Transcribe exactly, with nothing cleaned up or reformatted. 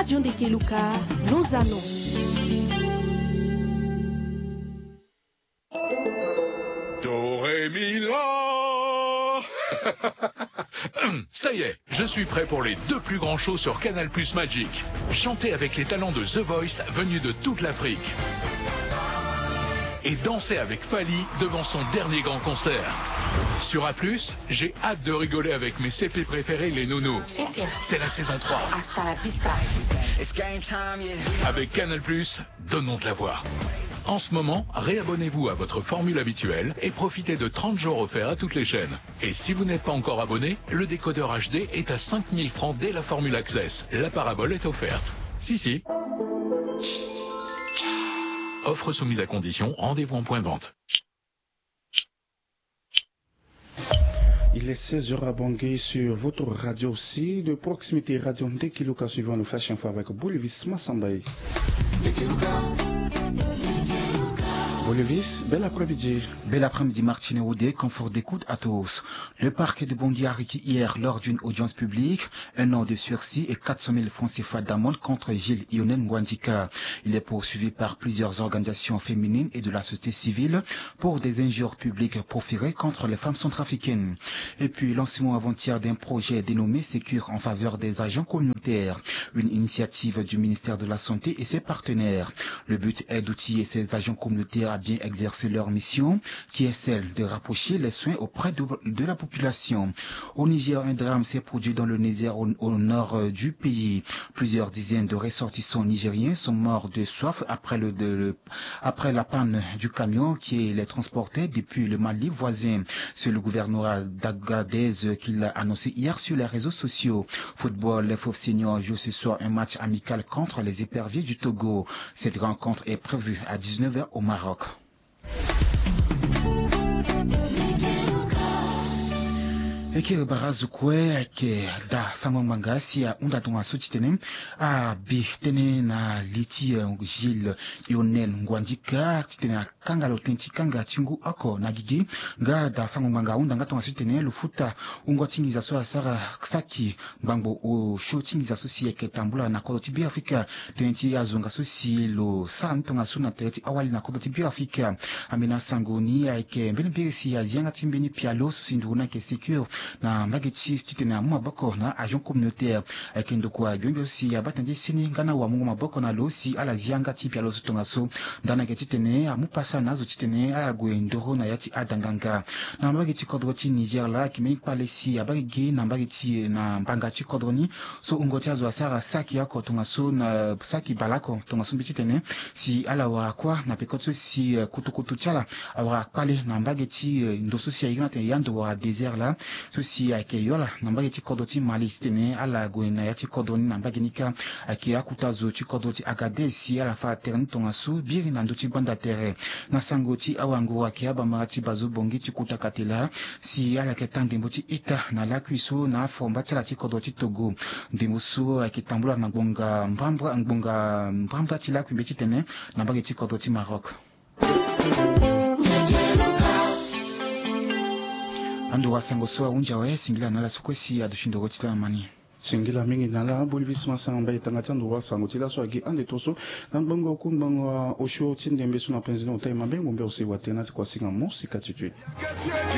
John de Keluka, nos annonces. Do, ré, mi, la. Ça y est, je suis prêt pour les deux plus grands shows sur Canal Plus Magic. Chantez avec les talents de The Voice venus de toute l'Afrique. Et dansez avec Fally devant son dernier grand concert. Sur A plus, j'ai hâte de rigoler avec mes C P préférés, les Nounous. C'est la saison trois. Hasta la vista. Avec Canal Plus, donnons de la voix. En ce moment, réabonnez-vous à votre formule habituelle et profitez de trente jours offerts à toutes les chaînes. Et si vous n'êtes pas encore abonné, le décodeur H D est à cinq mille francs dès la formule Access. La parabole est offerte. Si, si. Offre soumise à condition, rendez-vous en point de vente. Il est seize heures à Bangui sur votre radio aussi de proximité, Radio Ndekiluka, suivant le Flash Info avec Bolivis Massambaye. Bolivis, bel après-midi. Bel après-midi, Martine Oudé, confort d'écoute à tous. Le parquet de Bangui a requis hier, lors d'une audience publique, un an de sursis et quatre cent mille francs C F A d'amende contre Gilles Lionel Ngouandika. Il est poursuivi par plusieurs organisations féminines et de la société civile pour des injures publiques proférées contre les femmes centrafricaines. Et puis, lancement avant-hier d'un projet dénommé Sécure en faveur des agents communautaires, une initiative du ministère de la Santé et ses partenaires. Le but est d'outiller ces agents communautaires à bien exercer leur mission, qui est celle de rapprocher les soins auprès de, de la population. Au Niger, un drame s'est produit dans le Niger, au, au nord, euh, du pays. Plusieurs dizaines de ressortissants nigériens sont morts de soif après le, de, le, après la panne du camion qui les transportait depuis le Mali voisin. C'est le gouvernorat d'Agadez qui l'a annoncé hier sur les réseaux sociaux. Football, les Fauves Seniors jouent ce soir un match amical contre les Éperviers du Togo. Cette rencontre est prévue à dix-neuf heures au Maroc. E kiri bara azo kue ayeke da fango ngbanga si ahunda tongaso titene abi tënë na li ti, eh, Gilles Lionel Ngouandika titene akanga lo tënë ti kanga ti ngu oko na gigi. Nga da fango ngbanga ahunda nga tongaso titene lo futa wungo ti nginza so asara saki ngbangbo osio ti nginza so si ayeke tambula na kodro ti Beafrika. Tënë ti azo nga so si lo sara ni tongaso na tere ti awali na kodro ti Beafrika. Ambeni asango ni ayeke mbeni mbiri si azi yanga ti mbeni pialo so si nduru ni ayeke Sécure na mbage ti titene amu maboko na agent communautaire. Ayeke ndokua gbiongbio so si abaa tënë ti seni nga na awamungo maboko na lo si ala zi yanga ti pialo so tongaso. Ndani ayeke titene amu pasa na azo titene ala gue ndoro na ya ti ada nganga. Na mbage ti kodro ti Niger laa ayeke mbeni kpale si abaa gigi na mbage ti, na mbanga ti kodro ni. So wungo ti azo asara saki oko tongaso na saki baleoko tongaso mbi titene si ala wara kuâ na peko ti so si, eh, kutukutu ti ala awara kpale na mbage ti, eh, ndo so si a iri ni atene yando wala désert laa. So si ayeke yo ala na mbage ti kodro ti Mali titene ala gue na ya ti kodro ni na mbage ni kâ. Ayeke akuta zo ti kodro ti Agadez si ala fa tere ni tongaso biri na ndö ti gbanda tere. Na sango ti awango ayeke abamara ti Bazo Bongi ti kota katela si ala yeke taa ndembo ti ita na lakui so na afomba ti ala ti kodro ti Togo. Ndembo so ayeke tambula na ngbonga mbrambra, ngbonga mbrambra ti lakui mbi titene na mbage ti kodro ti Maroc. Ando wa sango so ahunzi awe, singila na ala so kue si aduti ndoro ti tanga ma ni. Singila mingi na ala. Bolivis Massambaye tanga ti ando wa sango ti laso agi ande to so na ngbongo ku ngbongo osio ti ndembe so na penze ni ota e mabe ngombe ose wa tena ti kuasinga mo sika ti tue.